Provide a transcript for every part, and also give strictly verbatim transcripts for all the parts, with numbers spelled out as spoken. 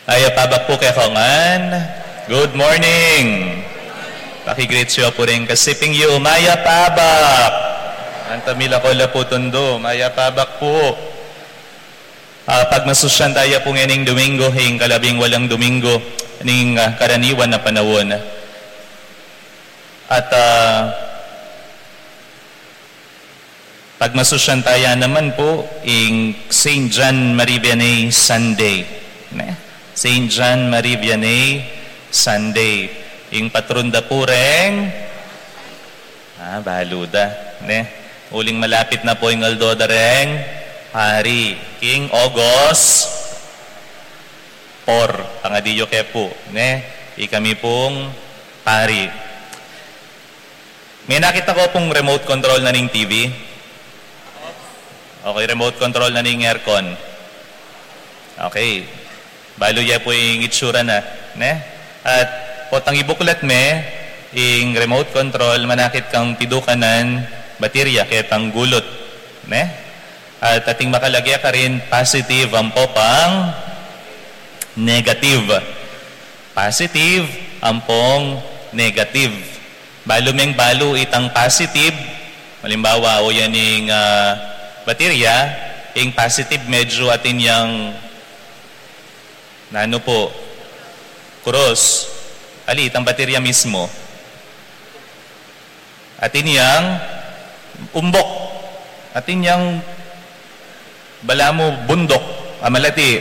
Mayap a abak pu kekayu ngan. Good morning. Paki-greet yu pu ring kasiping yu. Mayap a abak. Antamila ko la pu tundu. Mayap a abak pu. Ah, pagmasusyan taya pu ngening Domingo, ing kalabing walang Domingo ning, ah, karaniwan a panaun. At, ah, pagmasusyan taya naman pu ing Saint John Marie Vianney Sunday. Ne? Saint John Marie Vianney Sunday. Ing patron da pu reng, ah, balu da. Ne? Uling malapit na pu ing aldo da reng pari. King August four, pangadi yu ke pu. Ne? Ikami pung pari. Menakit na ko pung remote control na ning T V. Okay, remote control na ning aircon. Okay. Balu ye pu ing itsura na, ne? At potang ibuklat me, ing remote control, manakit kang pidukanan, baterya, ketang gulut, ne? At ating makalage karin, positive ampo pang negative. Positive ampong negative. Balu meng balu itang positive. Halimbawa, o yan ing, ah, baterya, ing positive medyo atin yang nanu pu, krus. Ali, itang baterya mismo. Atin yang umbok. Atin yang balamu bundok a malati.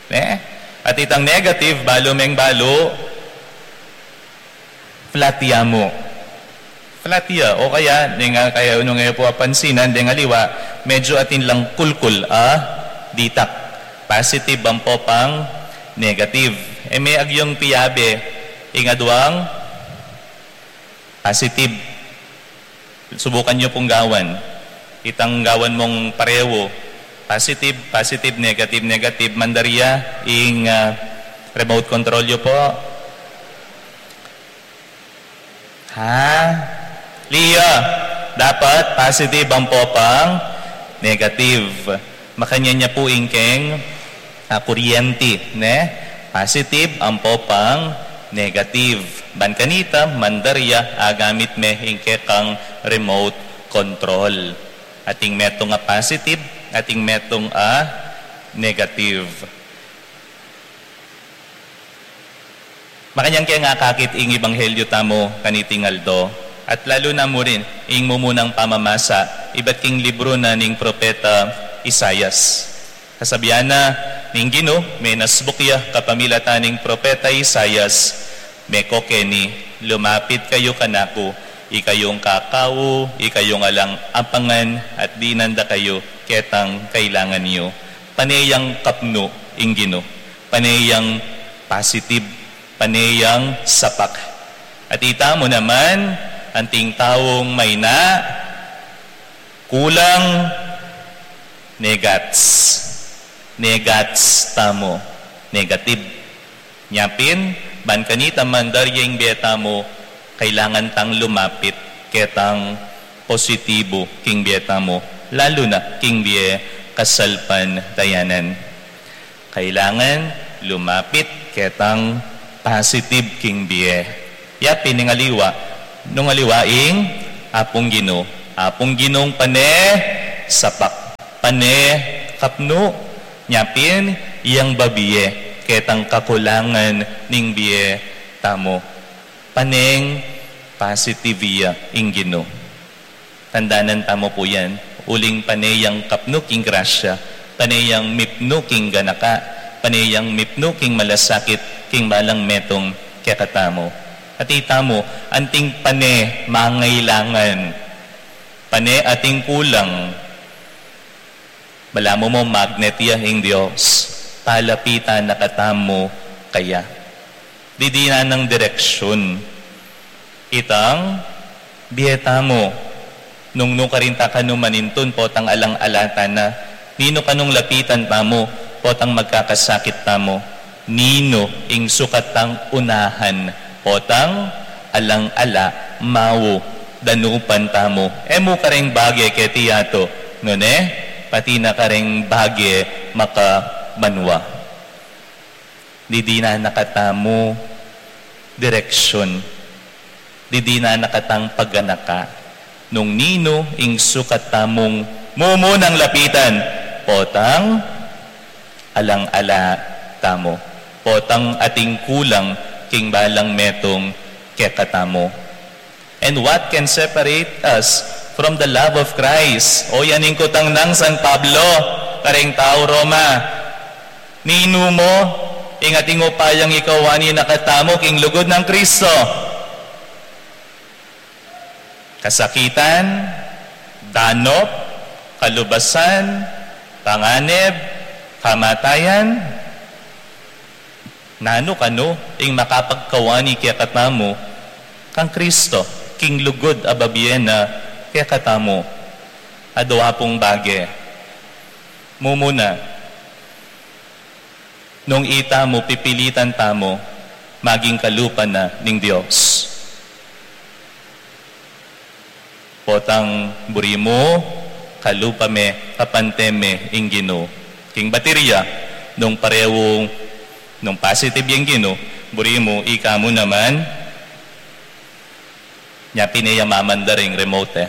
Ne? At itang negative, balu meng balu, flat ya mu. Flat ya. O kaya, deng, ah, kaya nung e pu apansinan, deng aliwa, medyo atin lang kulkul a ditak. Positive ampo pang negative. E me agyung piyabe, ing aduang positive. Subukan yu pung gawan. Itang gawan mung parehu. Positive, positive, negative, negative. Mandar ya ing, ah, remote control yu pu. Ha? Liya, dapat positive ampo pang negative. Makanyan ya pu ing keng, ah, kuryenti, ne? Positive ampo pang negative. Ban kanita, mandar ya, agamit me ing kekang remote control. Ating metung a positive, ating metung a negative. Makanyan ke nga akakit ing ebanghelyo tamu kaniting aldo, at lalu na mu rin ing mumunang pamamasa ibat king libru na ning propeta Isaias. Kasabian na ning Ginu, menasbuk ya kapamilatan ning propeta Isaias, meko keni, lumapit kayu kanaku, ikayung kakau, ikayung alang apangan, at dinan da kayu ketang kailangan yu. Pane yang kapnu ing Ginu. Pane yang positive, pane yang sapak. At itamu naman, anting taung maina, kulang, negats. Negats tamu, negative. Nyapin, ban kanita mandar ya ing bie tamu, kailangan tang lumapit ketang positibu king bie tamu, lalu na king bie kasalpantayanan. Kailangan lumapit ketang positive king bie. Yapin ing aliwa, nung aliwa ing Apung Ginu. Apung Ginung pane sapak, pane kapnu, nyapin yang babie ketang kakulangan ning bie tamu. Paneng positive ya ing Ginu. Tandanan tamu pu yan, uling pane yang kapnu king grasya, pane yang mipnu king ganaka, pane yang mipnu king malasakit king balang metung kekatamu. At itamu, anting pane mangailangan, pane ating kulang, balamu mu magnet ya ing Dios, palapitan na katamu kaya. Didinan nang direksyun itang bie tamu. Nung nu karin ta kanu manintun potang alang-ala ta na, ninu kanung lapitan tamu potang magkakasakit tamu? Ninu ing sukat tang unahan potang alang-ala, mau, danupan tamu? E mu kareng bage keti yatu, nune, pati na kareng bage makabanua. Didinan na katamu direksyon. Didinan na katang paganaka nung ninu ing sukat tamung mumunang lapitan. Potang alang-ala tamu. Potang ating kulang king balang metung kekatamu. And what can separate us from the love of Christ? O yan ing kutang nang San Pablo kareng tau Roma. Ninu mo ing ating upayang ikawani na katamu king lugud nang Kristo? Kasakitan, danop, kalubasan, panganib, kamatayan. Nanu kanu ing makapagkawani kekatamu kang Kristo king lugud a babie na kekatamu? Adwa pung bage. Mumuna, nung itamu pipilitan tamu maging kalupa na ning Dios. Potang buri mu, kalupa me, kapante me ing Ginu. King baterya, nung parewung, nung positive yang Ginu, buri mu, ika mu naman, nya pin e ya mamandar ing remote e.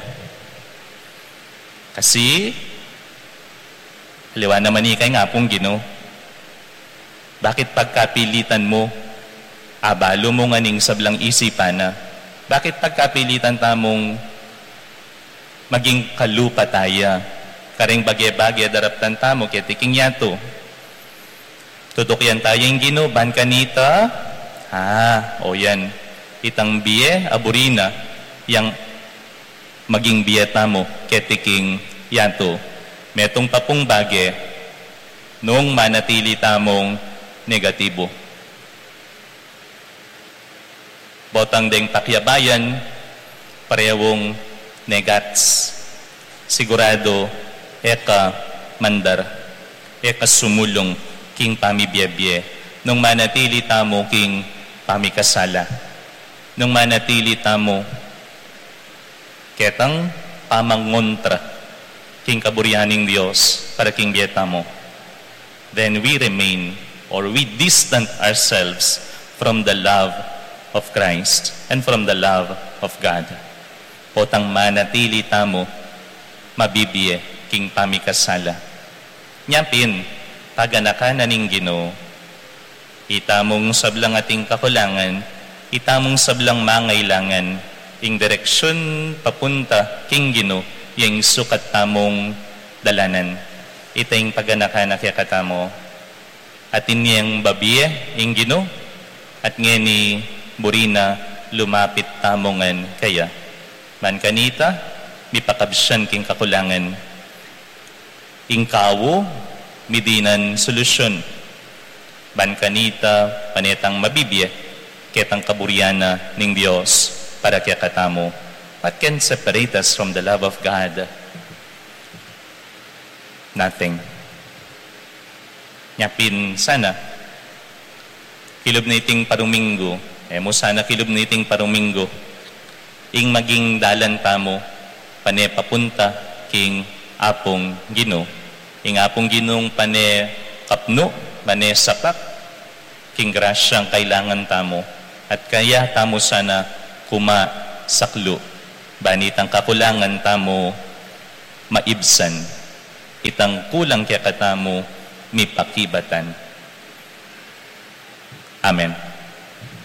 Kasi, aliwa naman ika ing Apung Ginu. Bakit pagkapilitan mu? Abalu mu ngan ing sablang isipan na. Bakit pagkapilitan tamung maging kalupa taya? Kareng bage-bage daraptan tamu keti king yatu. Tutukian taya ing Ginu, ban kanita, ah, o yan. Itang bie, a buri na, yang maging bie tamu keti king yatu. Metung pa pung bage, nung manatili tamung negatibu. Potang deng pakiabayan, parewung negats. Sigurado, e ka mandar, e ka sumulung king pamibie-bie. Nung manatili tamu king pamikasala. Nung manatili tamu ketang pamangontra king kaburian ning Dios para king bie tamu, then we remain or we distant ourselves from the love of Christ and from the love of God. Potang manatili tamu mabibie king pamikasala. Nya pin, paganakan na ning Ginu, itamung sablang ating kakulangan, itamung sablang mangailangan, ing direksyon papunta king Ginu, yang sukat tamung dalanan. Ita ing paganakan na kekatamu. Atin yang babie ing Ginu, at ngeni buri na lumapit tamu ngan kaya. Ban kanita, mipakabsyan king kakulangan. Ing kawu, midinan solusyon. Ban kanita, pane tang mabibie ketang kaburian na ning Dios para kekatamu. What can separate us from the love of God? Nothing. Nya pin sana, kilub niting paruminggu, e mu sana kilub niting paruminggu, ing maging dalan tamu, pane papunta king Apung Ginu. Ing Apung Ginung pane kapnu, pane sapak, king grasyang kailangan tamu, at kaya tamu sana kuma saklu, ban itang kakulangan tamu maibsan, itang kulang kekatamu mipakibatan. Amen.